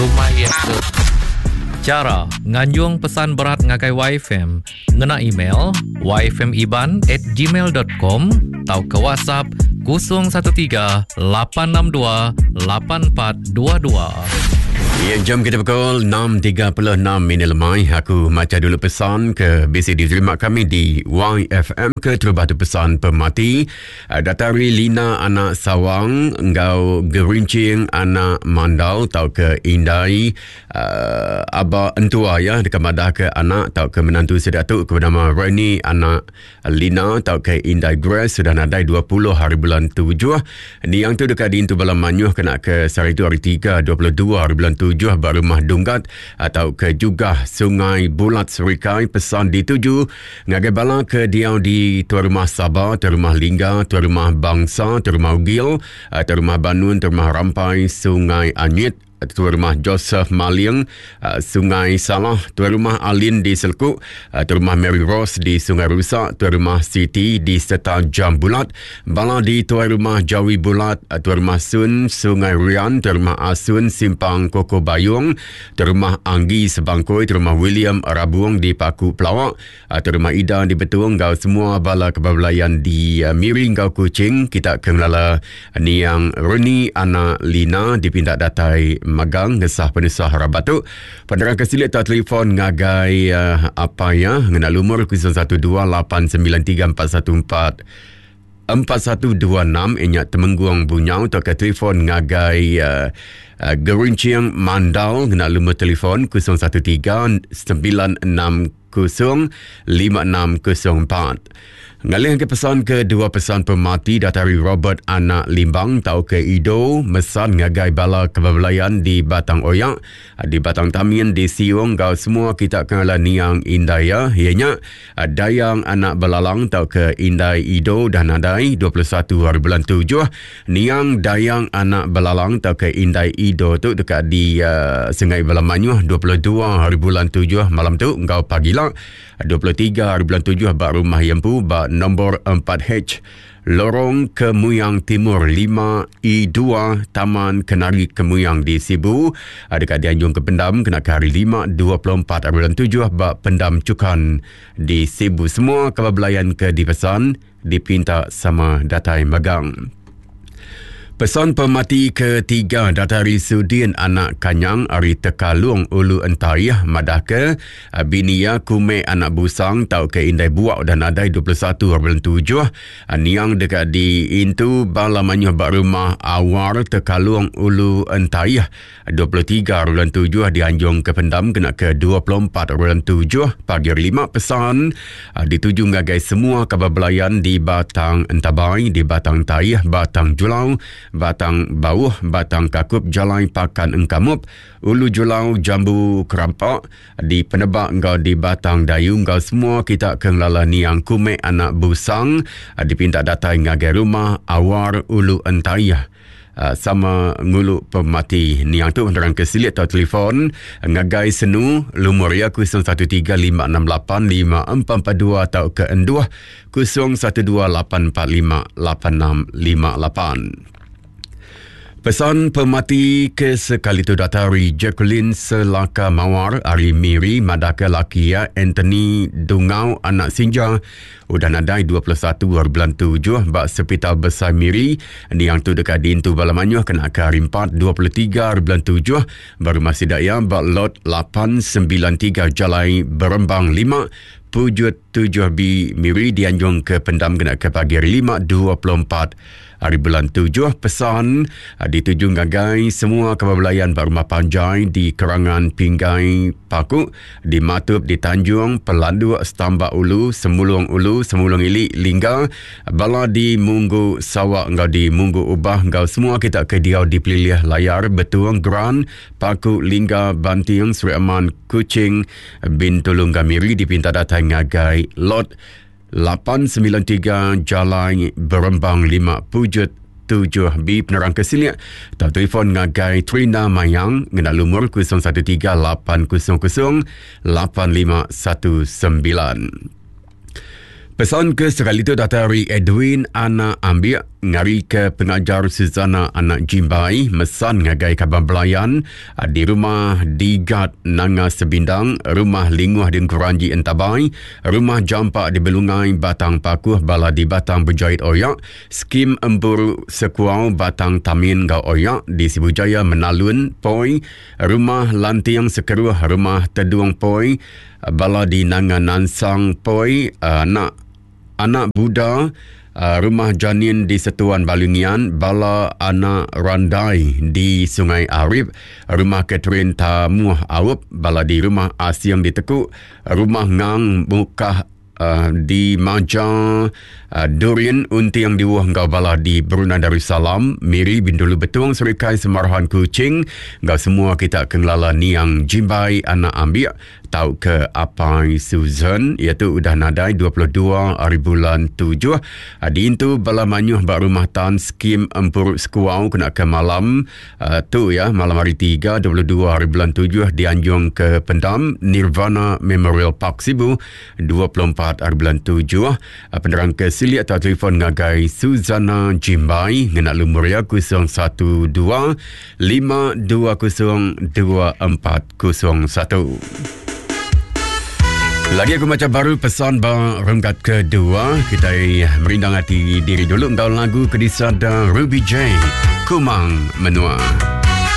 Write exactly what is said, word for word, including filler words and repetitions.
Rumah iya ke Cara nganjung pesan berat ngagai Y F M ngena email y f m iban at gmail dot com atau ke WhatsApp kosong satu tiga lapan enam dua lapan empat dua dua. Ya, jam kita pukul enam tiga puluh enam minit lemai. Aku maca dulu pesan ke B C diterima kami di Y F M ke terubah tu pesan pemati. Datari Lina anak Sawang enggau Gerincing anak Mandal tau ke Indai uh, Aba Entua ya dekat madah ke anak tau ke menantu sedatuk ke bernama Reni anak Lina tau ke Indai Grace sudah nadai dua puluh hari bulan tujuh. Niang tu dekat di Intu Balam Manyuh kena ke sehari tu hari tiga dua puluh dua hari bulan tujuh ba rumah Dunggat atau ke Jugah Sungai Bulat Serikai. Pesan dituju ngagai bala ke diau di tuan rumah Sabah, tuan rumah Lingga, tuan rumah Bangsa, tuan rumah Ugil, tuan rumah Banun, tuan rumah Rampai, Sungai Anyit, tuan rumah Joseph Maling, Sungai Salah, tuan rumah Alin di Selkuk, tuan rumah Mary Rose di Sungai Rusak, tuan rumah Siti di Seta Jam Bulat, bala di tuan rumah Jawi Bulat, tuan rumah Sun Sungai Rian, tuan rumah Asun Simpang Koko Bayung, tuan rumah Anggi Sebangkoi, tuan rumah William Rabuang di Paku Pelawak, tuan rumah Ida di Betung, gau semua bala kebablayan di Miri gau Kuching. Kita kenalala niang Reni anak Lina dipindah datai magang ngesah penusah rabat tu. Penerang kesilit tak telefon ngagai uh, apa ya ngena lumur kosong satu dua lapan sembilan tiga empat satu empat empat satu dua enam ingat Temenggung Bunyau atau ke telefon ngagai uh, uh, Gerincing Mandal ngena lumur telefon kosong satu tiga sembilan enam kosong lima enam kosong empat. Ngalih ke pesan ke dua pesan pemati datari Robert anak Limbang tau ke Ido mesan ngagai bala kebablayan di Batang Oyak, di Batang Tamin, di Siung gau semua kita kenala niang Indaya ianya Dayang anak Belalang tau ke Indai Ido dan nadai dua puluh satu hari bulan tujuh. Niang Dayang anak Belalang tau ke Indai Ido tu dekat di uh, Sungai Balamanyuh dua puluh dua hari bulan tujuh malam tu gau pagi lah dua puluh tiga hari bulan tujuh bak rumah Yempu bak nombor empat H Lorong Kemuyang Timur lima E dua Taman Kenari Kemuyang di Sibu. Dekat dianjung ke Pendam kena ke hari lima dua puluh empat hari bulan tujuh bak Pendam Cukan di Sibu. Semua kebablayan ke dipesan dipinta sama datai magang. Pesan pemati ketiga datari Sudin anak Kanyang ari Tekalung Ulu Entayah madah ke binia kume anak Busang tau ke Indai Buak dan adai dua puluh satu bulan tujuh. Niang dekat di Intu Bala Manyuh bak rumah Awar Tekalung Ulu Entayah dua puluh tiga bulan tujuh dianjung ke Pendam kena ke dua puluh empat bulan tujuh pagi lima. Pesan dituju ngagai semua kabar belayan di Batang Entabai, di Batang Tayah, Batang Julau, Batang Bauh, Batang Kakup, Jalai Pakan Engkamup, Ulu Julau, Jambu Kerampak, di Penebak enggau di Batang Dayu enggau semua kita ke ngelala niang kume anak Busang dipinta datai ngagai rumah Awar Ulu Entayah. Uh, sama ngulu pemati niang tu penerang ke silit atau telefon ngagai senu lumur ya kosong satu tiga lima enam lapan lima empat empat dua atau ke enduh kosong satu dua lapan empat lima lapan enam lima lapan. Pesan pemati ke sekali tu datari Jacqueline Selaka Mawar ari Miri madaka laki ya Anthony Dungau anak Sinja udah nadai dua puluh satu bulan tujuh bak Sepital Besar Miri. Niang tu dekat di Intu Balamanyuh kena ke hari empat dua puluh tiga bulan tujuh baru masih daya bak lot lapan sembilan tiga Jalai Berembang lima Pujut tujuh B Miri dianjung ke Pendam kena ke pagi hari lima dua puluh empat hari bulan tujuh. Pesan dituju ngagai semua kebablayan bak rumah panjai di Kerangan Pinggai Paku, di Matup, di Tanjung, Pelanduk, Stambak Ulu, Semulung Ulu, Semulung Ili, Lingga, bala di Munggu Sawak enggau di Munggu Ubah enggau semua kita ke diau di Pelilih Layar, Betuang, Geran, Paku, Lingga, Banting, Seri Aman, Kuching, Bintulung Gamiri dipinta datai ngagai lot lapan sembilan tiga Jalai Berembang lima Pujut tujuh B. Penerang kesiliak atau telefon ngagai Trina Mayang ngena lumur kosong satu tiga lapan kosong kosong lapan lima satu sembilan. Pesan ke sekali tu datang dari Edwin Anak Ambiak ngari ke pengajar Suzana Anak Jimbai mesan ngagai kaban belayan di rumah Digat Nanga Sebindang, rumah Linguh di Keranji Entabai, rumah Jampak di Belungai Batang Pakuh, bala di Batang Berjait Oyak, skim Empuru Sekuau Batang Tamin Gau Oyak di Sibu Jaya Menalun Poi, rumah Lantiang Sekeruh, rumah Teduang Poi, bala di Nanga Nansang Poi, anak anak Buddha, uh, rumah Janin di Setuan Balungian, bala anak Randai di Sungai Arif, rumah Catherine Tamuh Aup, bala di rumah Asyang di Tekuk, rumah Ngang Mukah uh, di Maja, uh, Durian Untiang di Wuh, Ngau bala di Brunei Darussalam, Miri Bintulu Betung, Serikai Semarahan Kuching, ngau semua kita kenglala Niang Jimbai Anak Ambiak tau ke Apai Susan, iaitu udah nadai dua puluh dua hari bulan tujuh. Diintu bala manyuh bak rumah tan skim Empuruk Sekuau kena ke malam uh, tu ya, malam hari tiga dua puluh dua hari bulan tujuh dianjung ke pendam Nirvana Memorial Park Sibu dua puluh empat hari bulan tujuh. Uh, penerang ke sili atau telefon ngagai Suzana Jimbai ngena lumur ya kosong satu dua lima dua kosong dua empat kosong satu. Lagi aku macam baru pesan ba renggat kedua. Kita merindang hati diri dulu engkau lagu kedisada Ruby J, Kumang Menua.